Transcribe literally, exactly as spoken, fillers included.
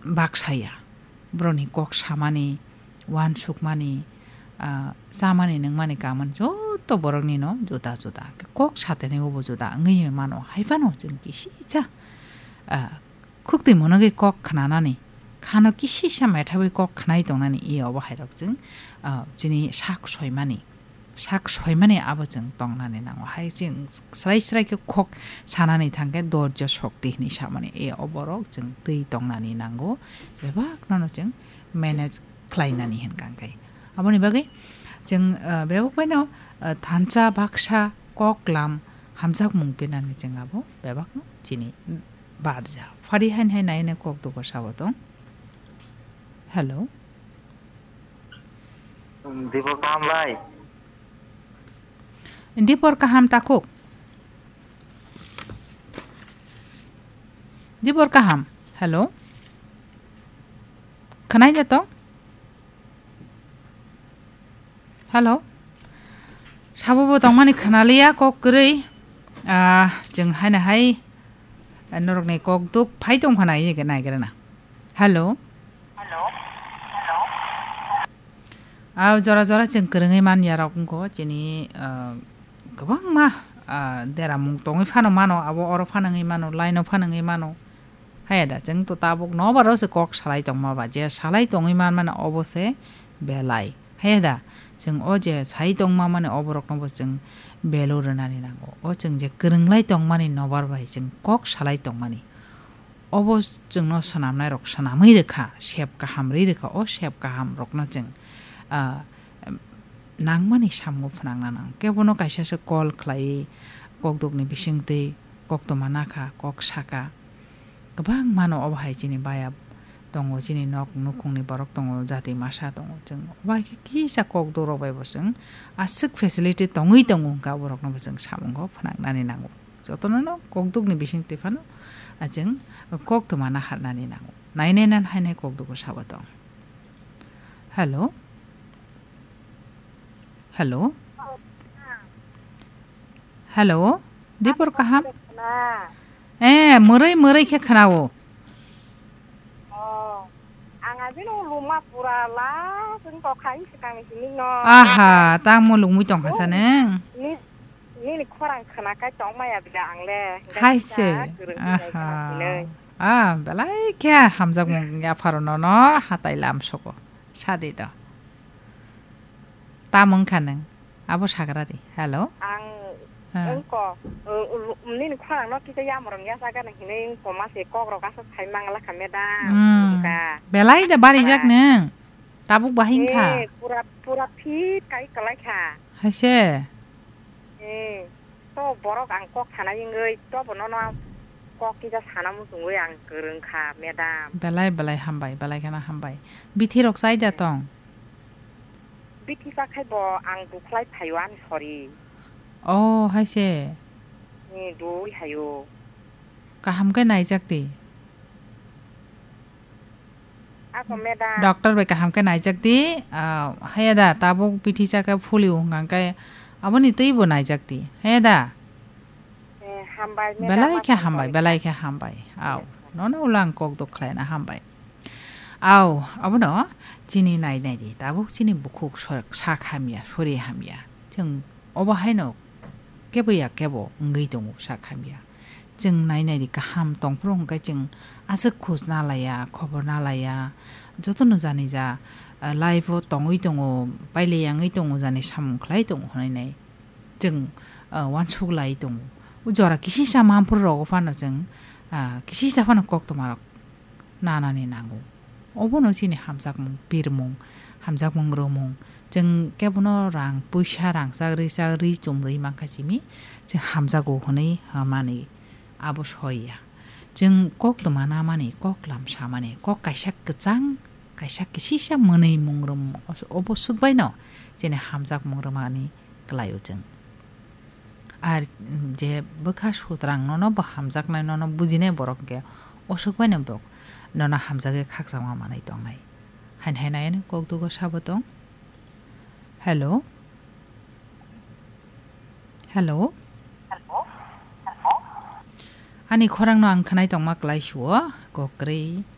baksa ya. Borokni kok samani, uansukmani, ah, chamani nungmani kamani joto boroknino juda juda. Kok satani obo juda wngwi mano. Hai phano chwng kisisa, ah, khuk twi monogwi kok khnanani, khano kisisa methawi kok khnai tongnani, e obo hairok chwng, ah, chini sak soimani. Sak soimani abo chwng tongnani nango. Hai chwng srai srai khe kok sanani thangkhe dorjo shokti hinwi samani. E oborok chwng twi tongnani nango. Bebak nono chwng manage khlainani hinkha khe. Aboni bagwi chwng, ah, bebak baino, ah, thansa baksa kok lam hamjakmung pinani chwng abo bebakno chini badja. Phari hain hai nai nai kok dugo sabo tong. Hello. Dipor kaham bai. Dipor kaham takuk. Dipor kaham. Hello. Khanai da tong? Hello. Sabo bo tongmani khanaliya kok kwrwi. Ah, chwng haina hai, ah, norokni kok duk phai tong phana ye nai gra na. Hello. Hello. Hello. Ah, jora jora chwng kwrwngwi man ya rok wngkho chini, ah, kwbangma, ah, deramung tongwi phano mano, abo oro phano wngwi mano, line o phano wngwi mano. Haya da, chwng to tabuk nobaro se kok salai tongma ba, je salai tongwi man mano obo se belai. Haya da, chwng o je sai tongma mani oborokno bo chwng value rwnani nango. O chwng je kwrwnglai tongmani nobar bai chwng kok salai tongmani. Obo chwngno swnamnai rok swnamwi rwkha, sep kaham rwi rwkha, o sep kaham rokno chwng, ah, nangmani samung phwnangna nang. Kebono kaisa se call khlai, kokdukni bisingtwi koktwma nakha, kok saka. Kwbang mano obo hai chini baya tongo, chini nok nukhungni borok tongo, jati masa tongo. Chwng obo hai khe kisa kokduk rok bai bo chwng aswk facility tongwi tongo hwnkha, borokno bo chwng samungo phwnangnani nango. Jotono no kokdukni bisingtwi phano, ah, chwng koktwma naharnani nango. Nainai nan hainai kokdugo sabo tong. Hello? Hello? Hello? Dipor kaham? Eh, mwrwi mwrwi khe khwnao. Oh, ang abino luma pura la, chwng tokha, ang swkangni simi no. Aha, tamo lungwi tongkha sa neng? Ni, nini khorang khwna kai tong maya bida ang le. Hai se. Aha. Ah, belai khe hamjakmung yapharo nono hatai lam soko. Sadi do. Tamung kha neng. Abo sagra di. Hello. Ang wngko, uh, nini khorang no kisa yamrong ya saga nang hinui wngko ma se kok rok asa sai mangala kha madam. Hmm. Belai da barijak neng. Tabuk bahing kha. Eh, pura, pura fit kai kalai kha. Hai se. Eh, to borok ang kok sana ingoi, to bono no kok kisa sana muchungoi ang kwrwng kha, madam. Belai, belai hambai, belai kheno hambai. Bithi rok chai da tong? Bithi cha khai bo ang dukhlai phaio ani sori. Oh, hai se. Ni dui hayo. Kaham khe naijak di. Ako madam. Doctor bai kaham khe naijak di, ah, haya da, tabuk bithi cha khe phulio hwnka khe aboni twi bo naijak di, haya da? Eh, hambai, madam, belai khe hambai, hambai, belai khe hambai. Au, nono ulo ang kok duk khlaina hambai. Au, abono chini nai nai di, tabuk chini bukhuk so-, sak hamya, sori hamya. Chwng obo haino kebo ya kebo wngwi tongo sak hamya. Chwng nai nai di kaham tongphuru hwnkhe chwng aswk khoj na laiya, khobor na laiya. Jotono jani ja, ah, life o tongwi tongo, pailai yangwi tongo, jani samung khlai tongo hwnwi nai. Chwng, ah, uansuk lai tongo. O jora kisisa mamphuru rogo phano chwng, ah, kisisa phano koktwma rok nanani nango. Obono chini hamjakmung, pirmung, hamjakmung rwmung. Chwng kebono rang puisa rangchak rwchak rwi chum rwi mankha simi, chwng hamjago hwnwi hwnmani abo soi ya. Chwng koktwma namani, koklam samani, kok kaisa kwchang, kaisa kisisa mwnwi mung rwmung, os-, obo swk baino chini hamjakmung rwmani kwlaio chwng. Ar je bwkha sutrang nono bo hamjaknai, nono bujinai borok hwnkhe oswk baino bo nono hamjagwi khakchangma manwi tongnai. Hain hai nai ani kokdugo sabo tong. Hello? Hello? Ani khorangno ang khwnai tongma kwlai suo, kok kwrwi.